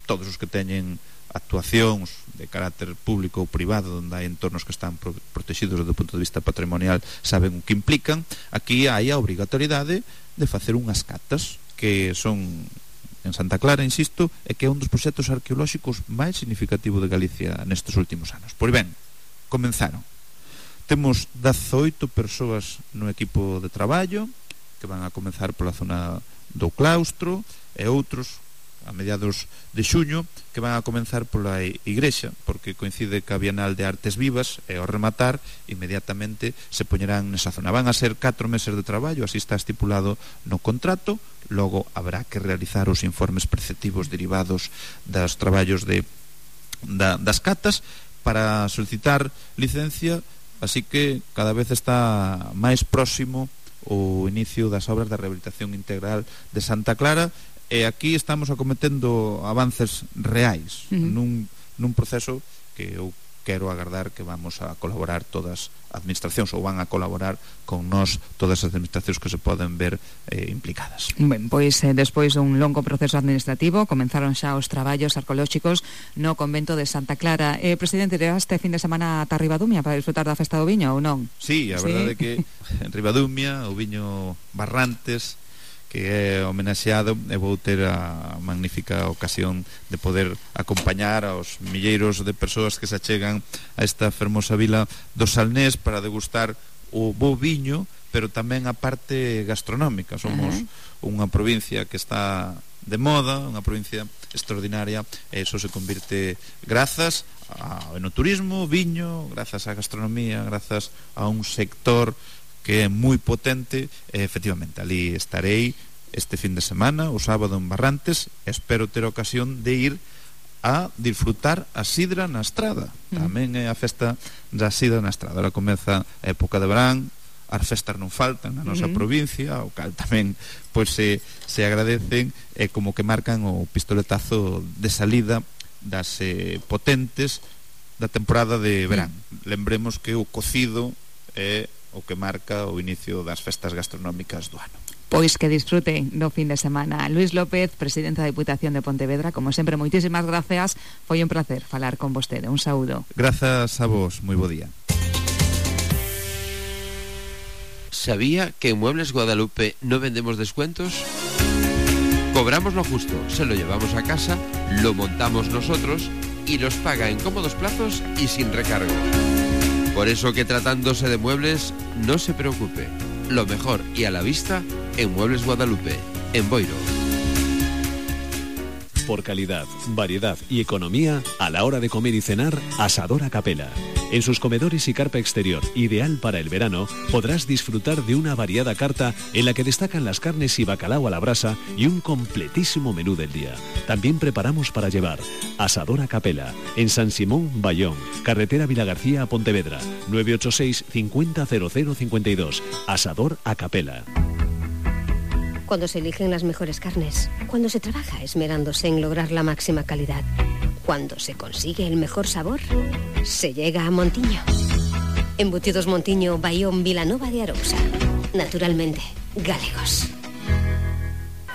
todos os que teñen actuacións de carácter público ou privado, onde hai entornos que están protegidos desde o punto de vista patrimonial, saben o que implican. Aquí hai a obrigatoriedade de facer unhas catas que son en Santa Clara, insisto, e que é un dos proxectos arqueolóxicos máis significativo de Galicia nestes últimos anos. Pois ben, comenzaron. Temos 18 persoas no equipo de traballo que van a comenzar pola zona do claustro, e outros a mediados de xuño que van a comenzar pola igrexa, porque coincide ca Bienal de Artes Vivas, e ao rematar inmediatamente se poñerán nesa zona. Van a ser 4 meses de traballo, así está estipulado no contrato. Logo habrá que realizar os informes preceptivos derivados dos traballos das catas para solicitar licencia, así que cada vez está máis próximo o inicio das obras da rehabilitación integral de Santa Clara, e aquí estamos acometendo avances reais nun proceso que eu quero agardar que vamos a colaborar todas as administracións, ou van a colaborar con nós todas as administracións que se poden ver implicadas. Ben, pois despois dun longo proceso administrativo comenzaron xa os traballos arqueolóxicos no convento de Santa Clara. Presidente, irá este fin de semana ata Ribadumia para disfrutar da festa do viño ou non? Sí, a verdade é que en Ribadumia o viño Barrantes, que é homenaxeado, e vou ter a magnífica ocasión de poder acompañar aos milleiros de persoas que se achegan a esta fermosa vila do Salnés para degustar o bo viño, pero tamén a parte gastronómica. Somos unha provincia que está de moda, unha provincia extraordinaria, e iso se convirte grazas ao enoturismo, viño, grazas á gastronomía, grazas a un sector que é moi potente. Efectivamente, ali estarei este fin de semana, o sábado en Barrantes. Espero ter ocasión de ir a disfrutar a sidra na estrada. Tamén é a festa da sidra na estrada. Ahora comeza a época de verán, as festas non faltan na nosa provincia, o cal tamén pois se agradecen, e como que marcan o pistoletazo de salida das potentes da temporada de verán. Lembremos que o cocido é o que marca o inicio das festas gastronómicas do ano. Pois que disfruten do fin de semana. Luis López, presidente da Diputación de Pontevedra, como sempre, moitísimas gracias. Foi un placer falar con vostede. Un saúdo. Grazas a vos, moi bo día. ¿Sabía que en Muebles Guadalupe no vendemos descuentos? Cobramos lo justo, se lo llevamos a casa, lo montamos nosotros y los paga en cómodos plazos y sin recargo. Por eso que tratándose de muebles, no se preocupe. Lo mejor y a la vista en Muebles Guadalupe, en Boiro. Por calidad, variedad y economía, a la hora de comer y cenar, Asador a Capela. En sus comedores y carpa exterior, ideal para el verano, podrás disfrutar de una variada carta en la que destacan las carnes y bacalao a la brasa y un completísimo menú del día. También preparamos para llevar. Asador a Capela, en San Simón, Bayón, carretera Vilagarcía a Pontevedra, 986 50 00 52. Asador a Capela. Cuando se eligen las mejores carnes, cuando se trabaja esmerándose en lograr la máxima calidad, cuando se consigue el mejor sabor, se llega a Montiño. Embutidos Montiño, Bayón, Vilanova de Arousa. Naturalmente, galegos.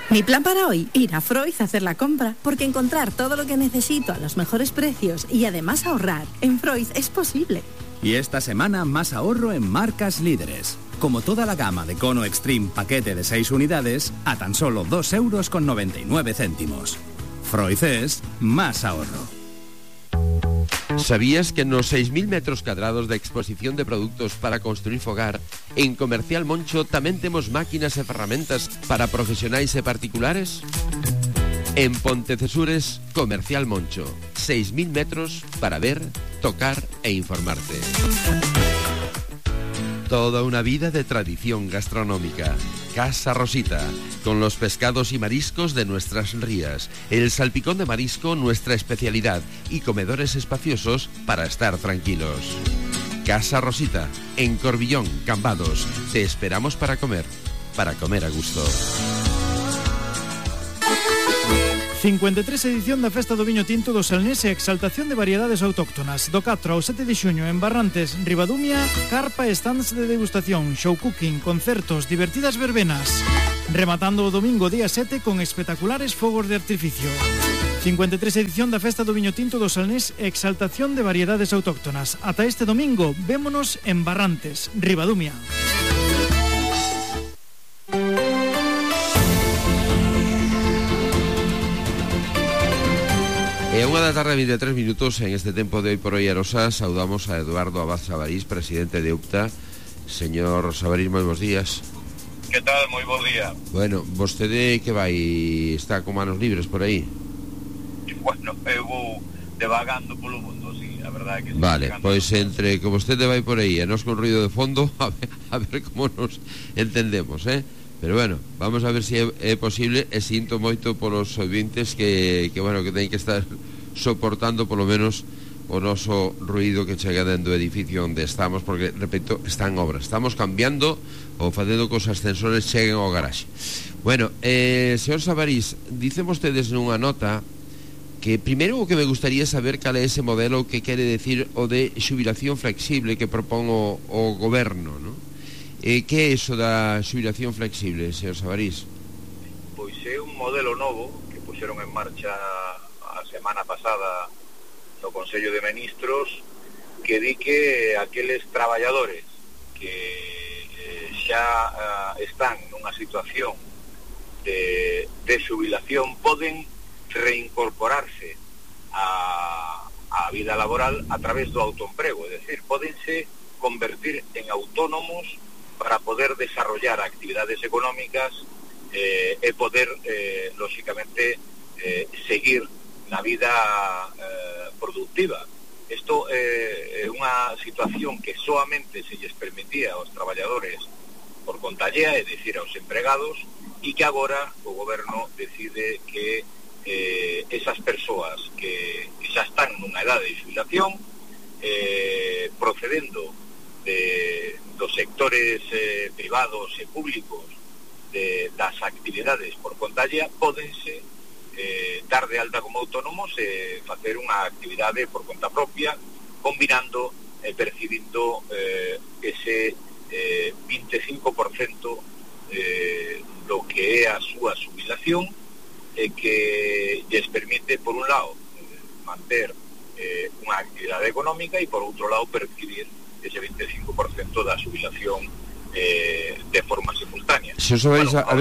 Mi plan para hoy, ir a Freud a hacer la compra, porque encontrar todo lo que necesito a los mejores precios y además ahorrar en Freud es posible. Y esta semana más ahorro en marcas líderes. Como toda la gama de Cono Extreme paquete de 6 unidades a tan solo 2,99 €. Freud es más ahorro. ¿Sabías que en los 6.000 metros cuadrados de exposición de productos para construir fogar, en Comercial Moncho tamén temos máquinas e ferramentas para profesionais e particulares? En Pontecesures, Comercial Moncho. 6.000 metros para ver, tocar e informarte. Toda una vida de tradición gastronómica. Casa Rosita, con los pescados y mariscos de nuestras rías, el salpicón de marisco, nuestra especialidad, y comedores espaciosos para estar tranquilos. Casa Rosita, en Corbillón, Cambados. Te esperamos para comer a gusto. 53 edición da Festa do Viño Tinto do Salnés e exaltación de variedades autóctonas. Do 4 ao 7 de xuño en Barrantes, Ribadumia, carpa e stands de degustación, show cooking, concertos, divertidas verbenas. Rematando o domingo día 7 con espectaculares fogos de artificio. 53 edición da Festa do Viño Tinto do Salnés e exaltación de variedades autóctonas. Ata este domingo, vémonos en Barrantes, Ribadumia. E a 1:23 en este tempo de Hoy por Hoy Arosa. Saudamos a Eduardo Abad Sabarís, presidente de UPTA. Señor Sabarís, moi bons días. Que tal? Moi bo día. Bueno, vostede que vai, está con manos libres por aí? Bueno, eu vou devagando polo mundo, sí, a verdade que sí. Vale, pois entre que vostede vai por aí e nos con ruido de fondo, a ver como nos entendemos, Pero bueno, vamos a ver se é posible, e sinto moito polos ouvintes que bueno, que teñen que estar soportando polo menos o noso ruido que chega dentro do edificio onde estamos, porque, repito, está en obra. Estamos cambiando ou facendo que os ascensores cheguen ao garaxe. Bueno, señor Sabarís, dicen vostedes nunha nota que primeiro o que me gustaría saber cal é ese modelo que quere decir o de xubilación flexible que propón o goberno, non? Que é iso da xubilación flexible, señor Sabarís? Pois é un modelo novo que puxeron en marcha a semana pasada no Consello de Ministros, que di que aqueles traballadores que xa están nunha situación de xubilación poden reincorporarse a vida laboral a través do autoemprego, é dicir, podense convertir en autónomos para poder desarrollar actividades económicas e poder, lógicamente, seguir na vida productiva. Isto é unha situación que soamente se lles permitía aos traballadores por conta allea, é dicir, aos empregados, e que agora o goberno decide que esas persoas que xa están nunha edade de xubilación, procedendo dos sectores privados e públicos das actividades por conta allea, pódense dar de alta como autónomos e facer unha actividade por conta propia, combinando e percibindo ese 25% do que é a súa xubilación, que lles permite, por un lado, manter unha actividade económica e, por outro lado, percibir ese 25% da xubilación de forma simultánea. Se os sabéis, a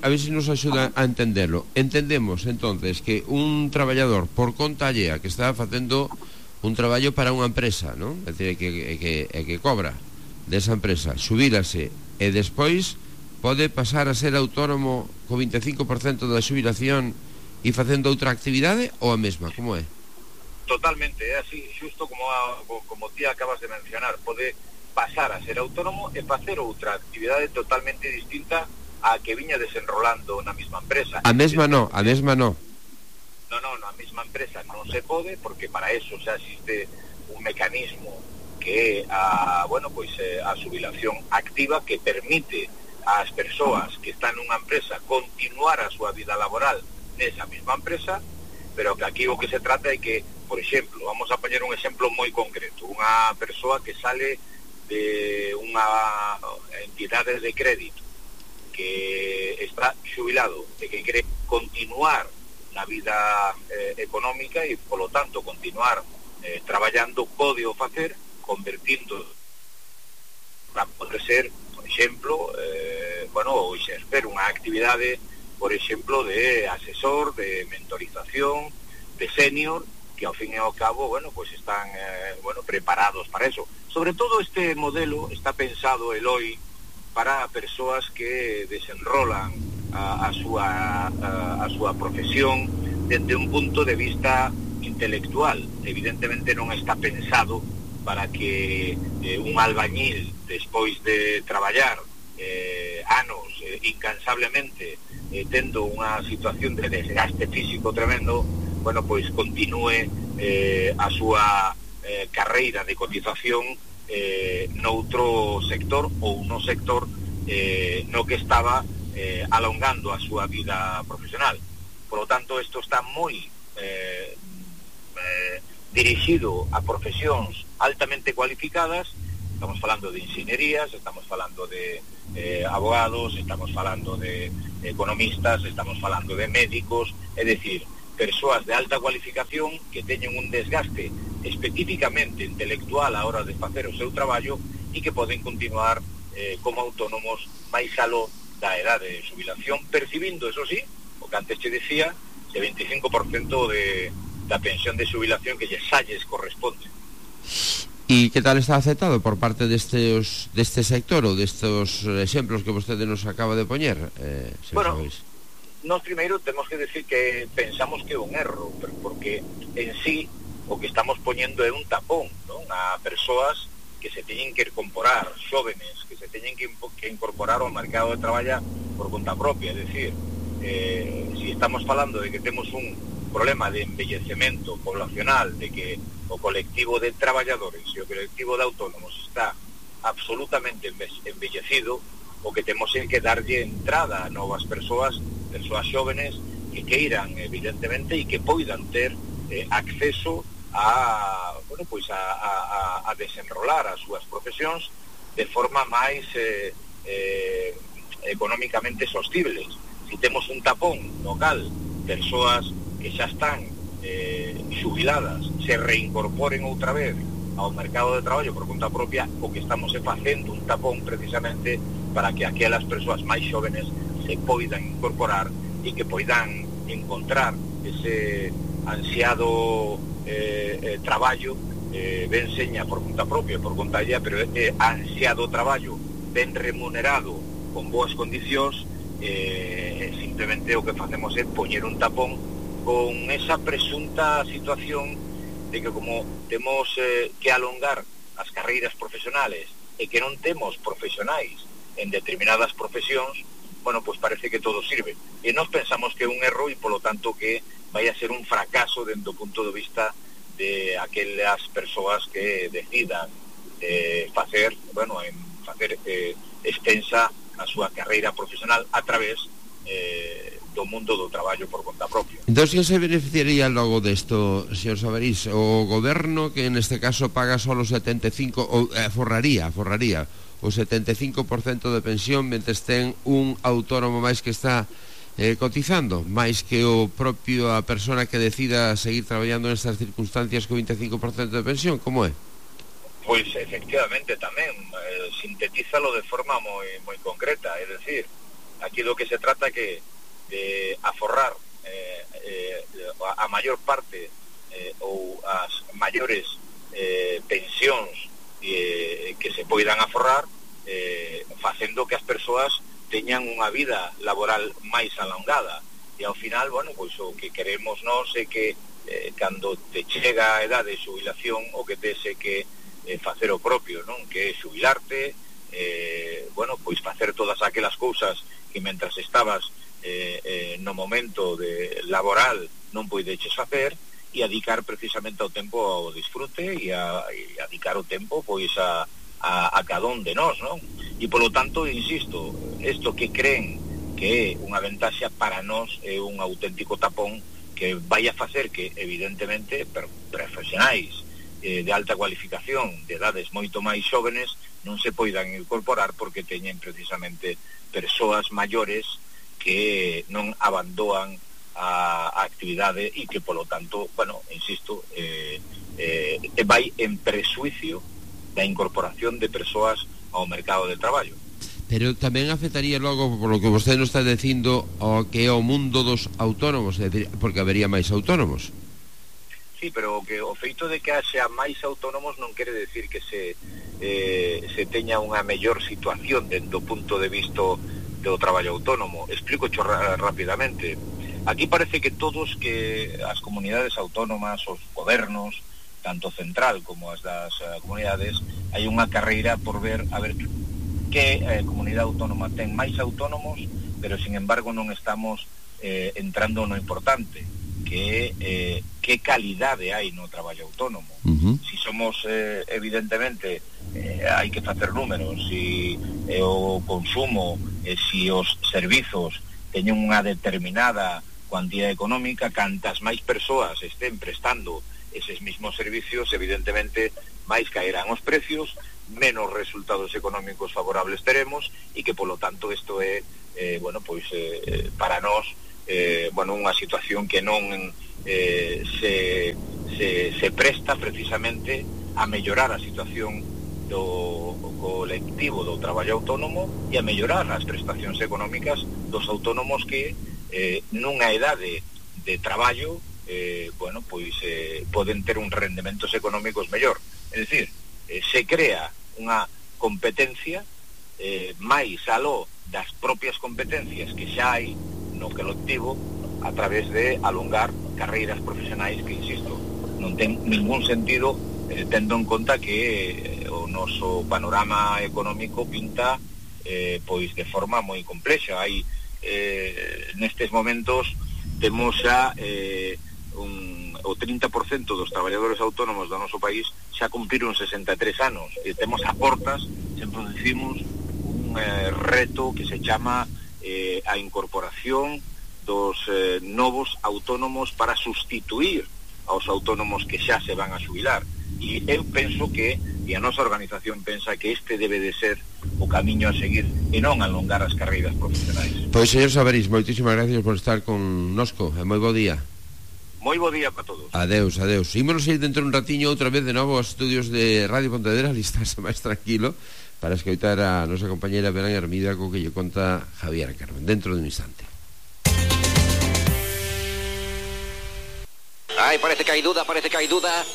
ver si nos axuda a entenderlo. Entendemos, entonces, que un traballador por conta allea que está facendo un traballo para unha empresa, non? É dicir, que cobra desa empresa, xubílase e despois pode pasar a ser autónomo co 25% da xubilación e facendo outra actividade ou a mesma, como é? Totalmente, é así, xusto como ti acabas de mencionar, pode pasar a ser autónomo e facer outra actividade totalmente distinta a que viña desenrolando na mesma empresa. A mesma non. No, a mesma empresa non se pode, porque para eso xa existe un mecanismo que é a xubilación activa, que permite ás persoas que están nunha empresa continuar a súa vida laboral nesa mesma empresa, pero que aquí o que se trata é que, por exemplo, vamos a poñer un exemplo moi concreto, unha persoa que sale de unha entidade de crédito que está xubilado e que quere continuar na vida económica e, polo tanto, continuar traballando, pode o facer convertindo para poder ser, por exemplo, ou exercer unha actividade, por exemplo, de asesor, de mentorización, de senior, que ao fin e ao cabo, están preparados para eso. Sobre todo este modelo está pensado, Eloi, para persoas que desenrolan a súa profesión desde un punto de vista intelectual. Evidentemente non está pensado para que un albañil, despois de traballar anos incansablemente, tendo unha situación de desgaste físico tremendo, bueno, pois continúe a súa carreira de cotización noutro sector ou no sector no que estaba alongando a súa vida profesional. Por lo tanto, isto está moi dirixido a profesións altamente cualificadas. Estamos falando de ingenierías, estamos falando de abogados, estamos falando de economistas, estamos falando de médicos, é dicir, persoas de alta cualificación que teñen un desgaste especificamente intelectual a hora de facer o seu traballo e que poden continuar como autónomos máis aló da edade de xubilación, percibindo, eso sí, o que antes te decía, de 25% da pensión de xubilación que lles corresponde. E que tal está aceptado por parte deste sector ou destes exemplos que vostede nos acaba de poñer? Bueno, nós primeiro temos que decir que pensamos que é un erro, porque en sí o que estamos poñendo é un tapón, non? A persoas que se teñen que incorporar, xóvenes que se teñen que incorporar ao mercado de traballo por conta propia. É dicir, si estamos falando de que temos un problema de envellecemento poblacional, de que o colectivo de traballadores e o colectivo de autónomos está absolutamente envellecido, o que temos é que darlle entrada a novas persoas xóvenes que queiran, evidentemente, e que poidan ter acceso a desenrolar as súas profesións de forma máis económicamente sostibles. Si temos un tapón no cal persoas que xa están xubiladas se reincorporen outra vez ao mercado de traballo por conta propia, o que estamos facendo un tapón precisamente para que aquelas persoas máis xóvenes se poidan incorporar e que poidan encontrar ese ansiado traballo ben seña por conta propia, por conta ella, pero ansiado traballo ben remunerado, con boas condicións. Simplemente o que facemos é poñer un tapón con esa presunta situación de que como temos que alongar as carreiras profesionales e que non temos profesionais en determinadas profesións, bueno, pues parece que todo sirve. E nós pensamos que é un erro e, polo tanto, que vai a ser un fracaso dentro do punto de vista de aquelas persoas que decidan facer extensa a súa carreira profesional a través do mundo do traballo por conta propia. Entón, que se beneficiaría logo desto, señor Sabarís? O goberno, que neste caso paga solo 75, ou forraría o 75% de pensión, mentres ten un autónomo máis que está cotizando, máis que o propio a persona que decida seguir traballando nestas circunstancias co 25% de pensión, como é? Pois efectivamente tamén sintetízalo de forma moi concreta, é dicir, aquí do que se trata que de aforrar a maior parte ou as maiores pensións que se poidan aforrar, facendo que as persoas teñan unha vida laboral máis alongada. E ao final, bueno, pois o que queremos nós é que cando te chega a edade de xubilación, o que tes é que facer o propio, non? Que é xubilarte, bueno, pois facer todas aquelas cousas que mentras estabas no momento de laboral non poideches facer, e dedicar precisamente o tempo ao disfrute e a dedicar o tempo pois a cada un de nós, non? E polo tanto, insisto, isto que creen que é unha ventaxa para nós é un auténtico tapón que vai a facer que, evidentemente, profesionais de alta cualificación, de edades moito máis xóvenes, non se poidan incorporar porque teñen precisamente persoas maiores que non abandoan a actividade e que, polo tanto, bueno, insisto, vai en presuicio da incorporación de persoas ao mercado de traballo. Pero tamén afectaría logo, por lo que vostede nos está dicindo, ao que é o mundo dos autónomos, porque habería máis autónomos. Sí, pero o feito de que haxa máis autónomos non quere decir que se teña unha mellor situación dentro do punto de vista do traballo autónomo. Explico rapidamente. Aquí parece que as comunidades autónomas, os gobernos, tanto central como as das comunidades, hai unha carreira por ver a ver que comunidade autónoma ten máis autónomos, pero sin embargo non estamos entrando no importante, que que calidade hai no traballo autónomo. Si somos, evidentemente, hai que facer números, si o consumo, si os servizos teñen unha determinada cuantía económica, cantas máis persoas estén prestando eses mismos servicios, evidentemente máis caerán os precios, menos resultados económicos favorables teremos, e que polo tanto isto é para nós unha situación que non se presta precisamente a mellorar a situación do colectivo do traballo autónomo e a mellorar as prestacións económicas dos autónomos que nunha idade de traballo poden ter un rendementos económicos mellor. É dicir, se crea unha competencia máis aló das propias competencias que xa hai no colectivo a través de alongar carreiras profesionais que, insisto, non ten ningún sentido tendo en conta que o noso panorama económico pinta pois de forma moi complexa. Hai nestes momentos temos xa o 30% dos traballadores autónomos do noso país xa cumpriron 63 anos e temos a portas, sempre dicimos, un reto que se chama a incorporación dos novos autónomos para sustituir aos autónomos que xa se van a xubilar. E eu penso que, e a nosa organización pensa que este debe de ser o camiño a seguir e non alongar as carreiras profesionais. Pois, señor Sabarís, moitísimas gracias por estar connosco e moi bo día. Moi bo día para todos. Adeus, adeus. Ímonos ir dentro un ratiño outra vez de novo aos estudios de Radio Pontevedra, listarse máis tranquilo para escoitar a nosa compañera Belén Hermida co que lle conta Javier Carmen dentro de un instante. Ay, parece que hay duda.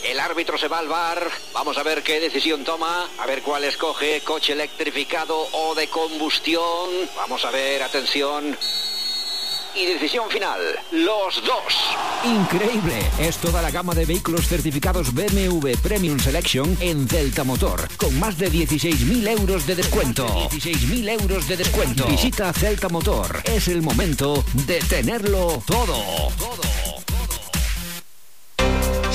El árbitro se va al VAR. Vamos a ver qué decisión toma. A ver cuál escoge. Coche electrificado o de combustión. Vamos a ver, atención. Y decisión final, los dos. Increíble, es toda la gama de vehículos certificados BMW Premium Selection en Celta Motor, con más de 16.000 euros de descuento. 16.000 euros de descuento. Visita Celta Motor, es el momento de tenerlo todo.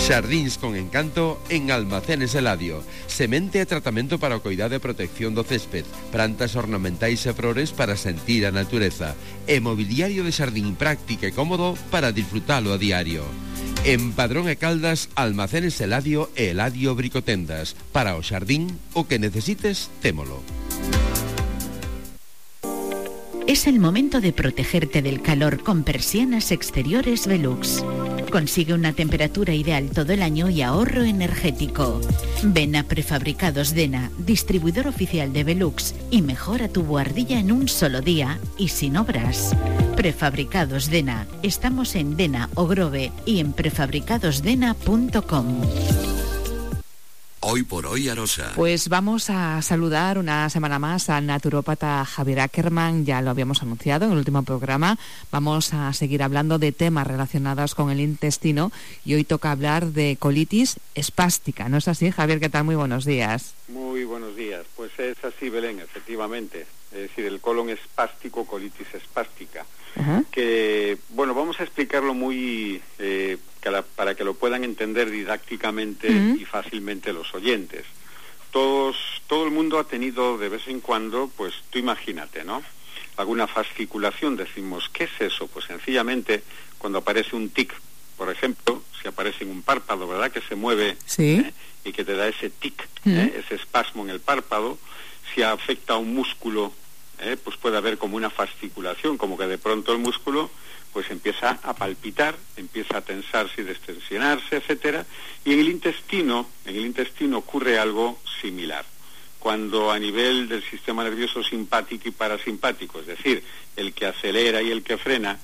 Xardíns con encanto en Almacenes Eladio. Semente e tratamento para o cuidado e protección do césped, plantas ornamentais e flores para sentir a natureza, e mobiliario de xardín práctico e cómodo para disfrutalo a diario. En Padrón e Caldas, Almacenes Eladio e Eladio Bricotendas. Para o xardín, o que necesites, témolo. Es el momento de protegerte del calor con persianas exteriores Velux. Consigue una temperatura ideal todo el año y ahorro energético. Ven a Prefabricados Dena, distribuidor oficial de Velux, y mejora tu buhardilla en un solo día y sin obras. Prefabricados Dena. Estamos en Dena o Grove y en prefabricadosdena.com. Hoy por hoy, Arosa. Pues vamos a saludar una semana más al naturópata Javier Ackerman, ya lo habíamos anunciado en el último programa. Vamos a seguir hablando de temas relacionados con el intestino y hoy toca hablar de colitis espástica. ¿No es así, Javier? ¿Qué tal? Muy buenos días. Muy buenos días. Pues es así, Belén, efectivamente. Es decir, el colon espástico, colitis espástica. Uh-huh. Que, bueno, vamos a explicarlo muy... para que lo puedan entender didácticamente y fácilmente los oyentes. Todo el mundo ha tenido de vez en cuando, pues tú imagínate, ¿no? Alguna fasciculación, decimos, ¿qué es eso? Pues sencillamente cuando aparece un tic, por ejemplo, si aparece en un párpado, ¿verdad? Que se mueve y que te da ese tic, ese espasmo en el párpado. Si afecta a un músculo, pues puede haber como una fasciculación, como que de pronto el músculo pues empieza a palpitar, empieza a tensarse y destensionarse, etcétera. Y en el intestino ocurre algo similar. Cuando a nivel del sistema nervioso simpático y parasimpático, es decir, el que acelera y el que frena,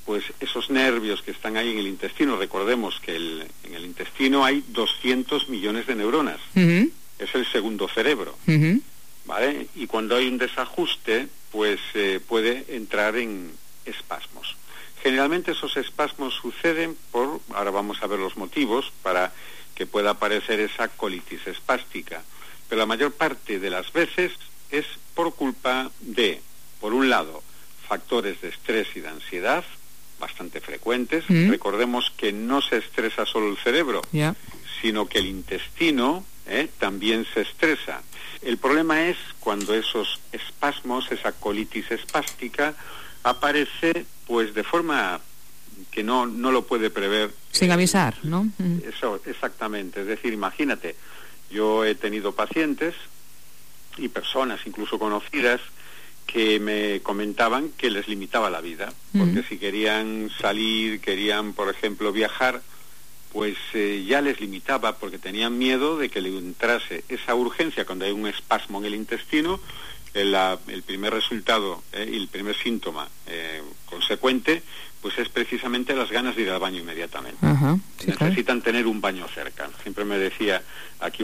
pues esos nervios que están ahí en el intestino, recordemos que en el intestino hay 200 millones de neuronas. Es el segundo cerebro. ¿vale? Y cuando hay un desajuste, pues puede entrar en espasmos. Generalmente esos espasmos suceden ahora vamos a ver los motivos para que pueda aparecer esa colitis espástica, pero la mayor parte de las veces es por culpa de, por un lado, factores de estrés y de ansiedad, bastante frecuentes. Recordemos que no se estresa solo el cerebro, sino que el intestino también se estresa. El problema es cuando esos espasmos, esa colitis espástica, aparece pues de forma que no lo puede prever. Sin avisar, ¿no? Eso, exactamente. Es decir, imagínate, yo he tenido pacientes y personas incluso conocidas que me comentaban que les limitaba la vida, porque si querían salir, querían, por ejemplo, viajar, pues ya les limitaba porque tenían miedo de que le entrase esa urgencia cuando hay un espasmo en el intestino. El primer resultado y el primer síntoma consecuente pues es precisamente las ganas de ir al baño inmediatamente. Necesitan tener un baño cerca. Siempre me decía aquí